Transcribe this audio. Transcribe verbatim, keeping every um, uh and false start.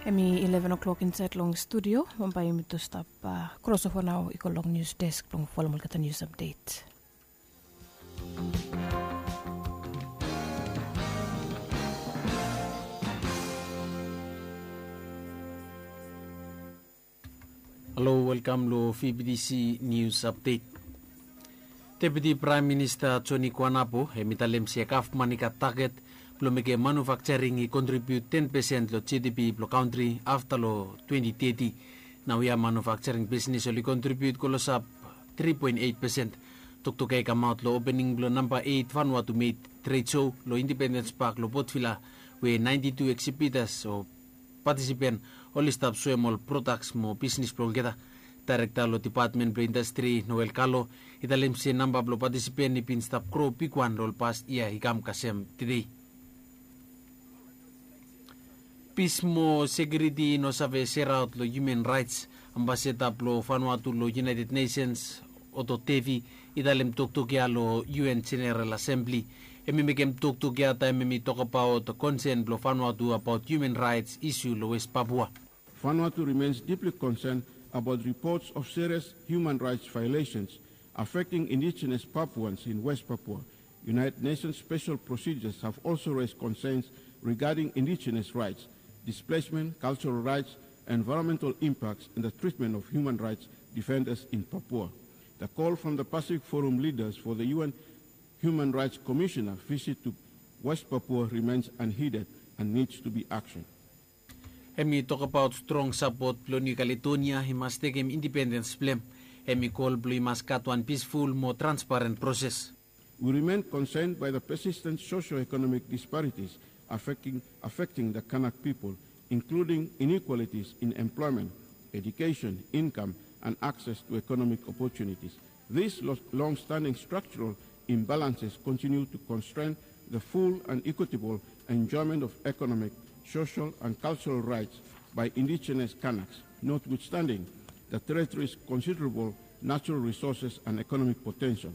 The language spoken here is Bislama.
Hemi ileven o'clock insaed long studio. Bambae yumi tu stap krosova nao i go long nius desk blong folom olgeta nius apdet. Halo, welkam long fibidisi nius apdet. Deputi praem minista joni kwanapo hem i talem se gavman i gat taget blong mekem manufakjaring i kontribiut ten pesen long jedipi blong kantri afta long twenti teti. Naoia manufakjaring bisnis oli kontribiut klosap tri poen eit pesen. Toktok ya i kamaot long opening blong namba eit vanua tu meit tred so long indipendens pak long potvila, we naenti tu eksibitas o patisipen oli stap soem ol prodaks mo bisnis blong olgeta. Daerekta long dipatmen blong indastri noel kalo i talem se namba blong patisipen i bin stap gro bigwan long ol past yia i kam kasem tede. Pis mo sekiuriti i no save seraot long hiuman raets. Ambasada blong vanua tu long iunaeted nesens oto devi i talem toktok ya long un jeneral asembli. Hem i mekem toktok ya taem hem i tokabaot konsen blong vanua tu abaot hiuman raets isu long west papua. Vanuatu remains deeply concerned about reports of serious human rights violations affecting indigenous Papuans in West Papua. United Nations special procedures have also raised concerns regarding indigenous rights, displacement, cultural rights, environmental impacts, and the treatment of human rights defenders in Papua. The call from the Pacific Forum leaders for the U N Human Rights Commissioner visit to West Papua remains unheeded and needs to be action. Hem i tokabaot strong sapot blong Niu Kaledonia i mas tekem indipendens blong hem. Hem i kol blong i mas gat wan pisful mo transparent proses. We remain concerned by the persistent socio-economic disparities affecting, affecting the Kanak people, including inequalities in employment, education, income, and access to economic opportunities. These lo-, long-standing structural imbalances continue to constrain the full and equitable enjoyment of economic, social, and cultural rights by indigenous Kanaks, notwithstanding the territory's considerable natural resources and economic potential.